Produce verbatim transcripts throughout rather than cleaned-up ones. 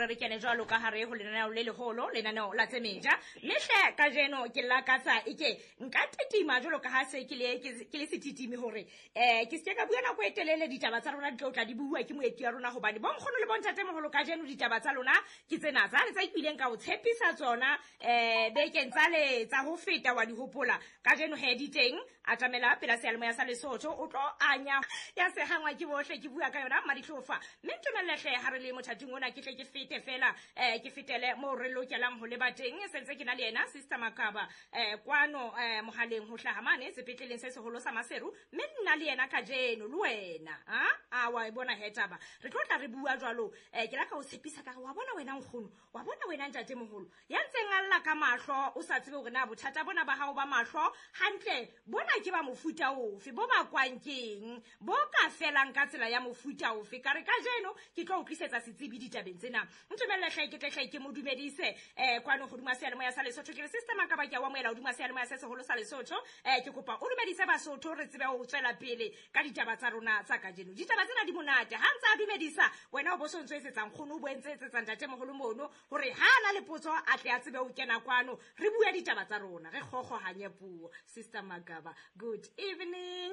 hore re kene jwalo ka hare ho lenaneo le leholo, lenaneo la tsemeja. Mme hle kajeno ke lakatsa eke nka titima jwalo ka ha se ke le ke le setitimi hore eh ke se ka bua nako e telele, ditaba tsa rona di tlo tla di bua ke moeti ya rona, hobane bonkgono le bontatemoholo kajeno ditaba tsa lona ke tsena tsa le tsa ipileng ka o tshepisa tsona eh bekeng tsa le tsa ho feta wa di hopola. Kajeno he di teng, atamela pela seyalemoya sa Lesotho o tlo anya ya sehangwa ke bohle, ke bua ka yona Madihlofa. Mme ntumelle hle ha re le mothating ona ke tle ke fete fela eh ke fetele mo re lokelang ho leba teng. Sentse ke na le yena Sister Makaba eh kwano eh mohaleng ho hlaha mane sepetleleng se seholo sa Maseru, mme nna le yena kajeno le wena ha a wa e bona he taba re tlo tla re bua jwalo. Eh ke la ka o tshepisa ka re wa bona wena nkgono, wa bona wena ntatemoholo ya ntseng a lla ka mahlo, o sa tsebe hore na bothata bona ba hao ba mahlo hantle bona ke ba mofuta ofe, bo bakwang keng, bo ka felang ka tsela ya mofuta ofe. Ka re kajeno ke tlo o tlisetsa setsebi ditabeng tsena. Ntumelle hle ke tle hle ke mo dumedise eh kwano hodima seyalemoya sa Lesotho. Ke re Sister Makaba ke a o amohela hodima seyalemoya se seholo sa Lesotho. Eh ke kopa o dumedise Basotho re tsebe ho tswela pele ka ditaba tsa rona tsa kajeno. Ditaba tsena di monate. Ha ntse a dumedisa wena o bo so ntso etsetsa nkgono, o bo entse etsetsa ntatemoholo mono hore ha ana le potso a tle a tsebe ho kena kwano re bue ditaba tsa rona, re kgokgohanye puo. Sister Makaba, good evening.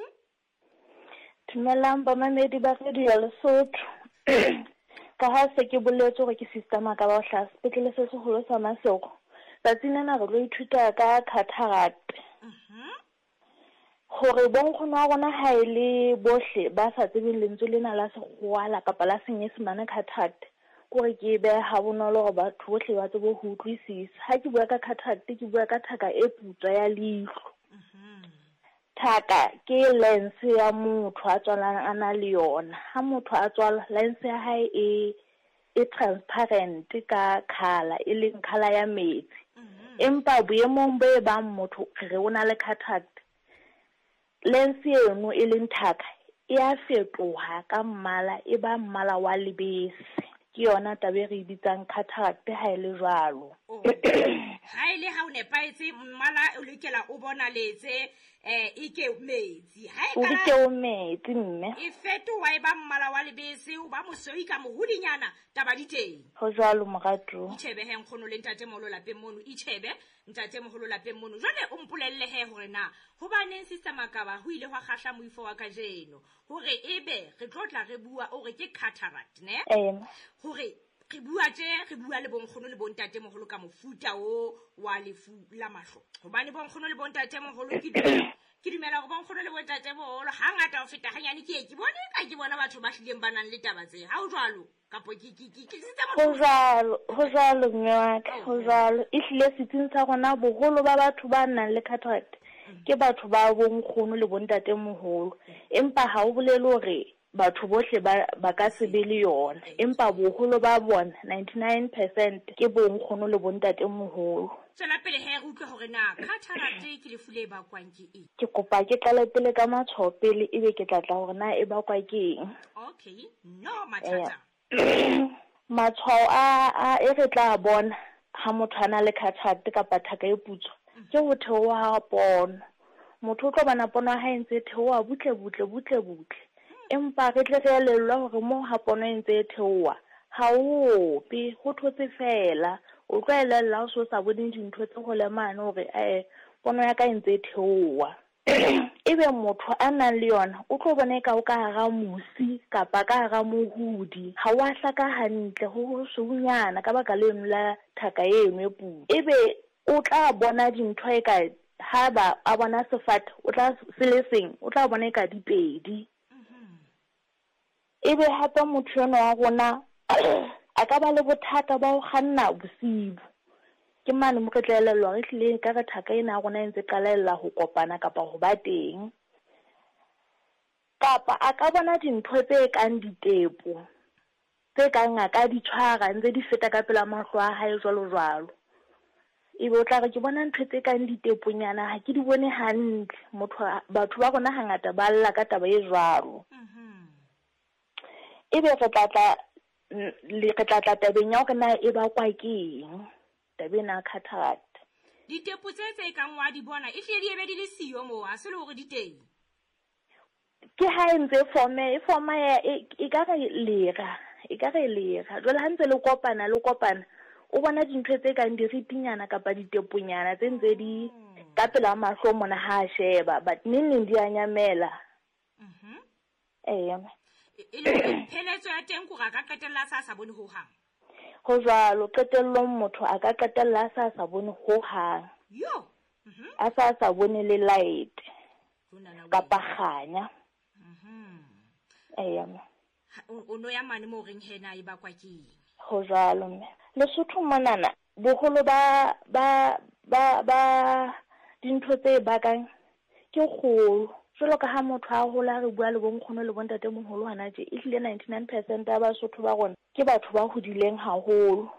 Dumelang bamamedi ba Radio Lesotho. Ka ha se ke boletse hore ke Sister Makaba o hlaha sepetlele se seholo sa Maseru. Tsatsing lena re tlo ithuta ka cataract. Hore bonkgono wa rona ha e le bohle ba sa tsebeng lentswe lena la Sekgowa kapa la Senyesemane cataract, kore ke e behe ha bonolo hore batho bohle ba tsebe ho utlwisisa. Ha ke bua ka cataract, ke bua ka thaka e putswa ya leihlo. Thaka ke lens ya motho a tswalang a na le yona. Ha motho a tswala, lens ya hae e e transparent ka colour, e leng colour ya metsi. Empa boemong bo e bang motho re o na le cataract, lens eno e leng thaka e a fetoha ka mmala, e ba mmala wa lebese. Ke yona taba e re e bitsang cataract ha e le jwalo. Ha e le ha o nepahetse mmala o lokela o bonaletse eh ike metsi. Ha e O ka ke o metsi mme. E fetoha e ba mmala wa lebese, o ba mosweu ka mohudinyana, taba di teng. Ho jwalo moratuwa. Itjhebe he nkgono le ntatemoholo lapeng mono, itjhebe ntatemoholo lapeng mono. Jwale o mpolelle he hore na hobaneng Sister Makaba ho ile hwa kgahla moifo wa kajeno hore ebe re tlo tla re bua o re ke cataract ne? Eh. Hore re bua tje, re bua le bonkgono le bontatemoholo ka mofuta o wa lefu la mahlo. Hobane bonkgono le bontatemoholo ke dumela, ke dumela hore bonkgono le bontatemoholo hangata ho feta hanyane ke ye ke bone ka ke bona batho ba hlileng ba nang le taba tse. Ha ho jwalo kapo ke ke ke ke sitse Ho motho. jwalo, ho jwalo mme wa ka, ho jwalo. Ehlile setsing sa rona boholo ba batho ba nang le cataract ke batho ba bonkgono le bontatemoholo. Empa ha o bolele hore batho bohle ba ba ka se be le yona, empa boholo ba bona ninety-nine percent ke bonkgono le bontatemoholo. Tswela pele he re utlwe hore na cataract ke lefu le bakwang ke eng. Ke kopa ke qale pele ka matshwao pele, ebe ke tla tla hore na e bakwa ke eng. Okay, no mathata. Matshwao a a e re tla bona ha motho a na le cataract kapa thaka e putswa ke ho theoha ha pono. Motho o tlo bona pono ya hae e ntse e theoha butle butle butle butle. Empa re tle re elellwe hore moo ha pono e ntse e theoha ha o ope, ho thotse fela. O tlo elella ha o so sa bone dintho tse hole mane hore eh pono ya ka e ntse e theoha. Ebe motho a nang le yona o tlo bona eka o ka hara mosi kapa ka hara mohudi, ha wa hlaka hantle, ho ho sweunyana ka baka leno la thaka eno e putswa. Ebe o tla bona dintho eka ha ba a bona sefate, o tla se le seng, o tla bona eka di pedi. Ebe hape motho enwa wa rona a ka ba le bothata ba ho kganna bosibu. Ke mane mo re tla elellwa re hlile ka re thaka ena ya rona e ntse qalella ho kopana kapa ho ba teng. Kapa a ka bona dintho tse kang ditepo, tse kang a ka di tshwara ntse di feta ka pela mahlo a hae jwalo jwalo. Ebe o tla re ke bona ntho tse kang diteponyana, ha ke di bone hantle. Motho batho ba rona hangata ba lla ka taba e jwalo. Ebe re tla tla le re tla tla tabeng ya hore na e bakwa ke eng taba ena ya cataract. Ditepo tse tse kang wa di bona e hlile di ebe di le siyo moo, ha se le hore di teng. Ke ha e ntse e forme, e forma ya, e, e ka re lera, e ka re lera. Jwale ha ntse le kopana le kopana, o bona dintho tse kang diritinyana kapa diteponyana tse ntse di ka pela mahlo mona ha a sheba, but neng neng di a nyamela. Mhm. Eya. E le hore pheletso ya teng kore a ka qetella a sa sa bone hohang. Ho jwalo, qetellong motho a ka qetella a sa sa bone hohang. Yo. Mhm. A sa sa bone le light. Jonana o Kapa kganya. Mhm. Eya. Ha, o, o no ya mane mo reng hena e bakwa ke eng? Ho jwalo mme. Lesotho monana boholo ba, ba, ba, ba dintho tse bakang ke kgolo. Jwalo ka ha motho a hola, re bua le bonkgono le bontatemoholo hona tje, ehlile ninety-nine percent ya Basotho ba rona ke batho ba hodileng haholo.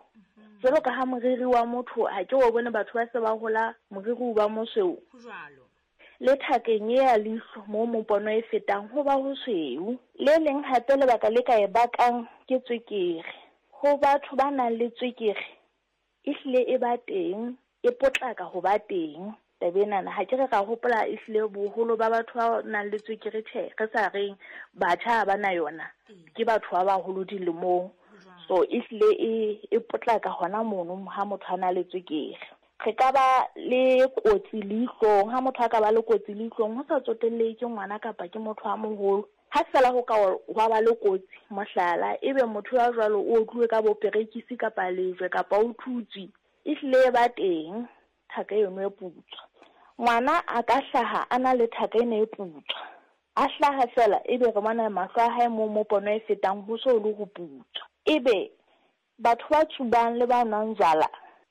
Jwalo ka ha moriri wa motho, ha ke o bone batho ba se ba hola moriri o ba mosweu. Ho jwalo. Le thakeng e ya leihlo moo mopono e fetang ho ba ho sweu. Le leng hape lebaka le ka e bakang ke tswekere. Ho batho ba nang le tswekere, ehlile e ba teng, e potlaka ho ba teng. Taba enana, ha ke re ra hopola ehlile boholo ba batho ba nang le tswekere, tjhe, re sa reng batjha ha ba na yona, ke batho ba baholo dilemong. So ehlile e, e potlaka hona mono ha motho a na le tswekere. Re ka ba le kotsi leihlong, ha motho a ka ba le kotsi leihlong, ho sa tsotellehe ke ngwana kapa ke motho a moholo. Ha feela ho ka hwa ba le kotsi, mohlala, ebe motho ya jwalo o otluwe ka bo perekisi kapa lejwe kapa o thutswe, ehlile e ba teng thaka eno e putswa. Ngwana a ka hlaha a na le thaka ena e putswa. A hlaha feela ebe re bona mahlo a hae moo mo pono e fetang ho so le ho putswa. Ebe batho ba tsubang le ba nwang jwala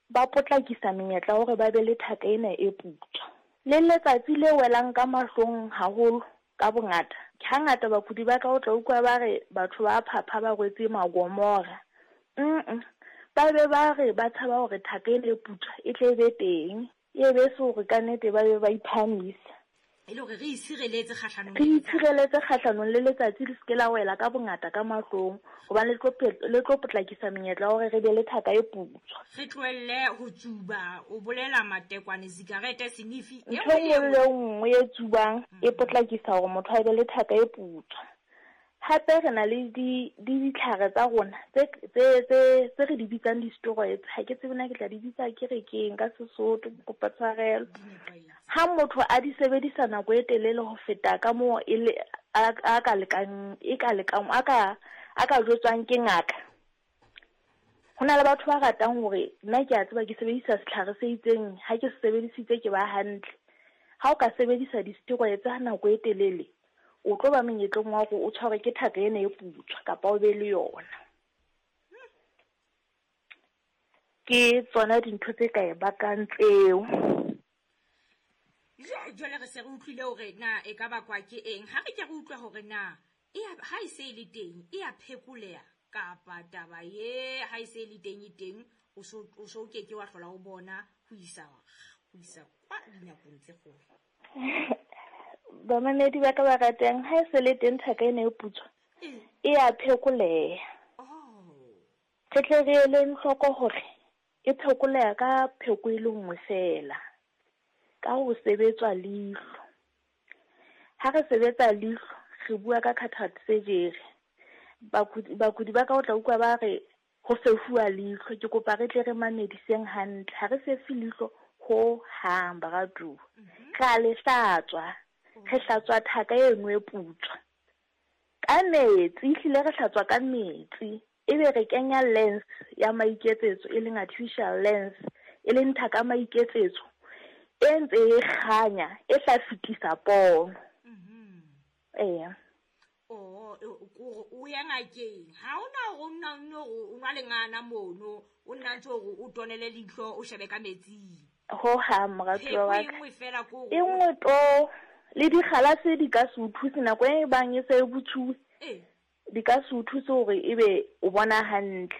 ba potlakisa menyetla hore ba be le thaka ena e putswa. Le letsatsi le welang ka mahlong haholo ka bongata. Hangata bakudi ba ka o tla utlwa ba re batho ba phapha ba rwetse magomora. Mm-mm. Ba be ba re ba tshaba hore thaka ena e putswa e tle e be teng. E be se hore ka nnete ba be ba iphahamisa. E le hore re itshireletse kgahlanong Re le letsatsi. itshireletse kgahlanong le letsatsi le seke la wela ka bongata ka mahlong, hobane le tlo pe-, le tlo potlakisa menyetla ya hore re be le thaka e putswa. Re tlohelle ho tsuba, o bolela matekwane, sigarete, senifi, e Ntho nngwe le e nngwe le nngwe e tsubang e potlakisa hore motho a be le thaka e putswa. Hape re na le di, di ditlhare tsa rona tse, tse, tse, tse re di bitsang di-steroids. Ha ke tsebe na ke tla di bitsa ke re keng ka Sesotho, ke kopa tshwarelo. Ha motho a di sebedisa nako e telele ho feta ka moo e le, a, a ka lekang, e ka lekang, a ka, a ka jwetswang ke ngaka. Ho na le batho ba ratang hore nna ke a tseba ke sebedisa setlhare se itseng, ha ke se sebedisitse ke ba hantle. Ha o ka sebedisa di-steroids ha nako e telele, o tlo ba monyetleng wa hore o tshwarwe ke thaka ena e putswa kapa o be le yona. Ke tsona dintho tse ka e bakang tseo. Jwale re se re utlwile hore na e ka bakwa ke eng. Ha re ke re utlwa hore na e a, ha e se e le teng, e a phekoleha kapa taba ye ha e se e le teng e teng, o so, o so ke ke wa hlola o bona ho isa, ho isa kwa dinakong tse kgolo. Bamamedi ba ka ba ratang, ha e se le teng thaka ena e putswa, Ee. e a phekoleha. Oh. Re tle re eleng hloko hore e phekoleha ka pheko e le nngwe feela, ka ho sebetswa leihlo. Ha re sebetsa leihlo, re bua ka cataract surgery. Bakudi, bakudi ba ka o tla utlwa ba re ho fefuwa leihlo. Ke kopa re tle re mamediseng hantle. Ha re fefe leihlo ho hang, baratuwa. Mhm. Re a le hlatswa. Re hlatswa thaka eno e putswa ka metsi, ehlile re hlatswa ka metsi. Ebe re kenya lens ya maiketsetso, e leng artificial lens, e leng thaka maiketsetso e ntse e kganya, e tla fetisa pono. Mhm. Eya. Oh, o, o, o ya ngakeng. Ha hona hore o nna nno hore o nwa lengana mono, o nna ntse hore o tonele leihlo, o shebe ka metsing. Ho hang, moratuwa wa Pheko e ka. nngwe feela ke hore E nngwe to, le dikgalase di ka se o thuse nako e bang e se e botsuwe. Ee. Di ka se o thuse hore ebe o bona hantle.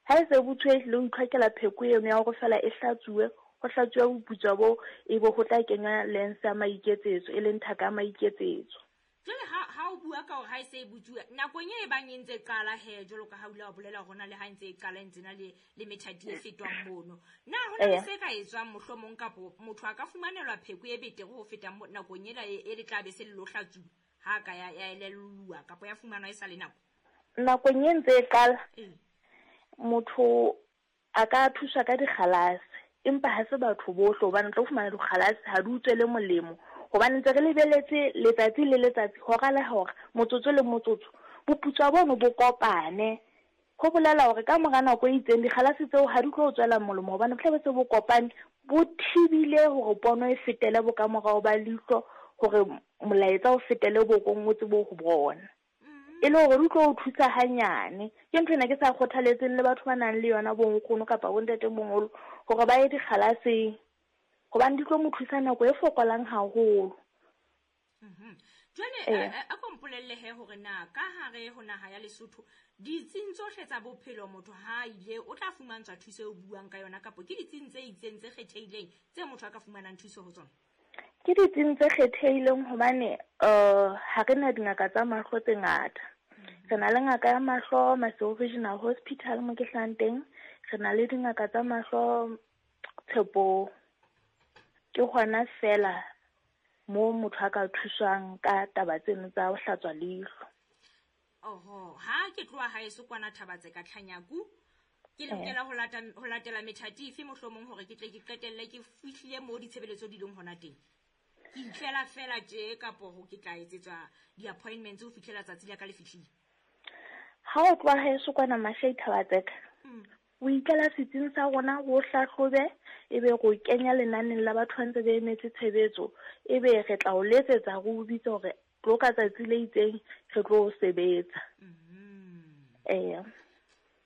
Ha e se e botsuwe, ehlile o itlhokela pheko eno ya hore feela e hlatsuwe, ho hlatsuwe boputswa bo, ebe ho tla kenywa lens ya maiketsetso, e leng thaka ya maiketsetso. Jwale ha, ha o bua ka hore ha e se e botsuwe, nakong e bang e ntse e qala he, jwalo ka ha o ile wa bolela hore hona le ha e ntse e qala e ntse na le, le methati e fetwang mono. Na ho na le Eya. se ka etswang mohlomong kapo motho a ka fumanelwa pheko e betere ho feta mo-, nakong ena e, e le tla be se le lo hlatsuwa, ha ka ya, ya elelluwa kapo ya fumanwa e sa le nako? Nakong e ntse e qala, Ee. motho a ka thuswa ka dikgalase, empa ha se batho bohle, hobane o tlo fumana dikgalase ha di utswele molemo, hobane ntse re lebeletse letsatsi le letsatsi, hora le hora, motsotso le motsotso, boputswa bono bo kopane. Ho bolela hore ka mora nako e itseng dikgalase tseo ha di tlo tswela molemo, hobane bo tla be se bo kopane, bo thibile hore pono e fetele bokamorao ba leihlo, hore molaetsa o fetele bokong o tsebe ho bona. E le hore di tlo o thusa hanyane. Ke ntho ena ke sa kgothaletseng le batho ba nang le yona bo nkgono kapa bo ntatemoholo hore ba ye dikgalaseng, hobane di tlo mo thusa nako e fokolang haholo. Mhm. Jwale, Ee. a, a ko mpolelle he hore na ka hare ho naha ya Lesotho ditsing tsohle tsa bophelo motho ha ile o tla fumantshwa thuso eo buang ka yona, kapo ke ditsing tse itseng tse kgethehileng tse motho a ka fumanang thuso ho tsona? Ke ditsing tse kgethehileng hobane, uh, ha re na dingaka tsa mahlo tse ngata. Re na le ngaka ya mahlo Maseru Regional Hospital mo ke hlahang teng, re na le dingaka tsa mahlo Tshepong. Ke hona fela moo motho a ka thuswang ka taba tseno tsa ho hlatswa leihlo. Oho, ha ke tloha haeso kwana Thabatse ka Tlhanyaku, ke lokela ho lata, ho latela methati efe mohlomong hore ke tle ke qetelle ke fihlile moo ditshebeletso di leng hona teng? Ke itlela fela tje kapo ho ke tla etsetswa di-appointments ho fihlela tsatsi la ka le fihlile? Ha o tloha haeso kwana Mashai Thabatseka, Mm. o ikela setsing sa rona ho hlahlobe, ebe re o kenya lenaneng la batho ba ntse ba emetse tshebetso, ebe re tla o letsetsa re o bitse hore tlo ka tsatsi le itseng re tlo o sebetsa. Mm. Eya.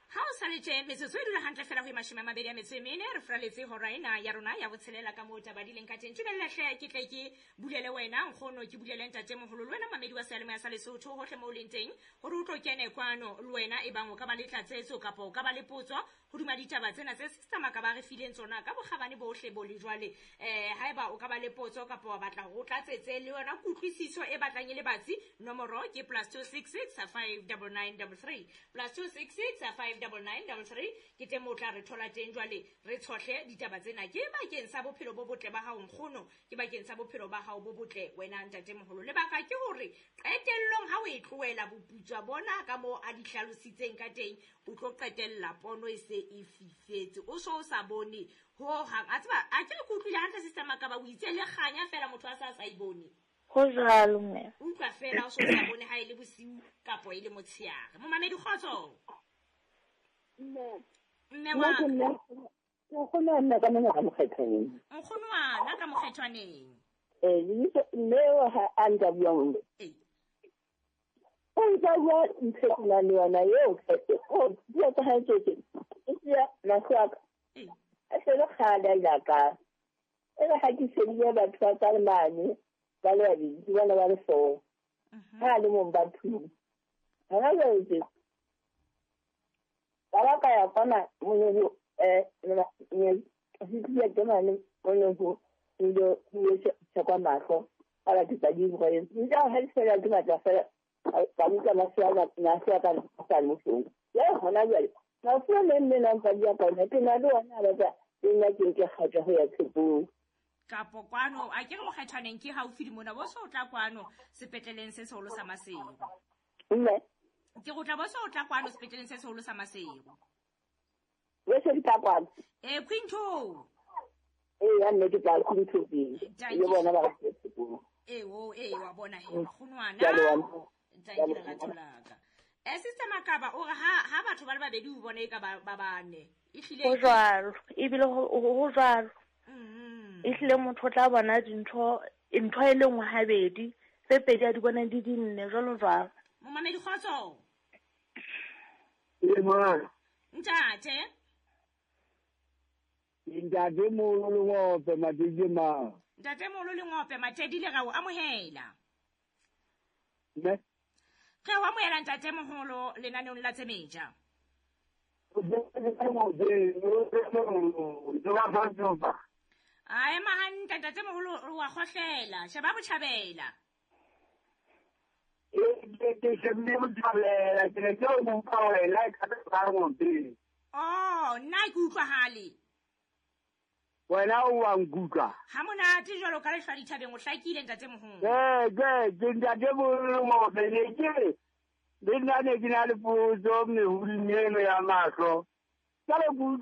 Ha o sa le tje, metsotso e dula hantle fela ho e mashome a mabedi a metso e mene, re furaletse hora ena ya rona ya botshelela ka moo taba di leng ka teng. Tumella hle ke tle ke bulele wena nkgono, ke bulele ntatemoholo le wena mamedi wa seyalemoya sa Lesotho hohle moo o leng teng, hore o tlo kene kwano le wena e bang o ka ba le tlatsetso kapa o ka ba le potso hodima ditaba tsena tse Sister Makaba re fileng tsona ka bokgabane bohle bo le jwale. Eh, haeba o ka ba le potso kapa wa batla hore o tlatsetse le yona kutlwisiso e batlang e le batsi, nomoro ke plus two six six five double nine double three, plus two six six five double nine double three. Ke teng moo o tla re thola teng. Jwale re tshohle ditaba tsena ke bakeng sa bophelo bo botle ba hao nkgono, ke bakeng sa bophelo ba hao bo botle wena ntatemoholo. Lebaka ke hore qetellong ha o e tlohela boputswa bona ka moo a di hlalositseng ka teng, o tlo qetella pono e se e fifetse, o so o sa bone ho hang. A tseba, a ke ke utlwile hantle Sister Makaba, o itse le kganya fela motho a sa sa e bone. Ho jwalo, mme. Utlwa fela o so sa bone ha e le bosiu kapo e le motshehare. Momamedi, kgotso. Mme. Mme wa Nna ke nna, ke nkgono wa nna ka mona ka mokgethwaneng. Nkgono wa nna ka mokgethwaneng. Eh, lebitso, mme eo ha a ntsa bua mme. Ee. O ntsa bua ntho e ke nang le yona eo, o bua ka hae tsohle. E siya mahlo a ka. Ee. A se le kgale a ile a ka. E re ha ke shebile batho ba ka mane, ba le babedi, ke bona ba le four. Mhm. Ha a le mong ba two. Hona jwale tje, ka ba ka ya kwana mono, eh, ne, ke ke mane mono ho, ho ile, ho ile tjhekwa mahlo. Ka ba ke tsa di bua eng. Ntse ha di fela ke batla fela, ka utlwa mahlo a ka, mahlo a ka a sa le bohloko. Jwale hona jwale, mafu a meng mme na ntsa bua ka ona, ke na le ona a batla le nna ke nke kgato ho ya tshepong. Kapo kwano, a ke re mokgethwaneng ke haufi le mona, bo so o tla kwano sepetleleng se seholo sa Maseru. Mme? Ke go tla bo so o tla kwano sepetleleng se seholo sa Maseru. Bo se di tla kwano? Eh, Quinto. Ee, ya nne ke tla Quinto pele. Thank Le you. bona ba re tshepong. Ee, o, ee, wa bona he, nkgonwana. Ke a leboha. Thank you, lerato la ka. Eh, Sister Makaba, o re ha, ha batho ba le babedi o bone e ka ba, ba bane. Ehlile Ho jwalo, ebile ho, ho, ho jwalo. Mm-hmm. Ehlile motho o tla bona dintho, ntho e le nngwe habedi, tse pedi a di bona di di nne, jwalo jwalo. Momamedi, kgotso. Ee, mora. Ntate. Ntate Moholo Lengope, Matedi mang? Ntate Moholo Lengope, Matedi le ra o amohela. Mme? Re o amohela ntate moholo lenaneong la tse metjha. A ema hantle ntate moholo, wa kgohlela, sheba botjhabela. Ee, ke shebile botjhabela, ke ne ke o utlwa wena, e ka ba ngope. Oh, nna ke utlwahale. Wena o wa nkutlwa. Ha monate jwalo ka lehlwa dithabeng, o hlakile ntate moholo. Ee, ke, ke ntate moholo Lengope, ne ke re, Le nna ne ke na le potso mehudung eno ya mahlo. Jwale ke utlwa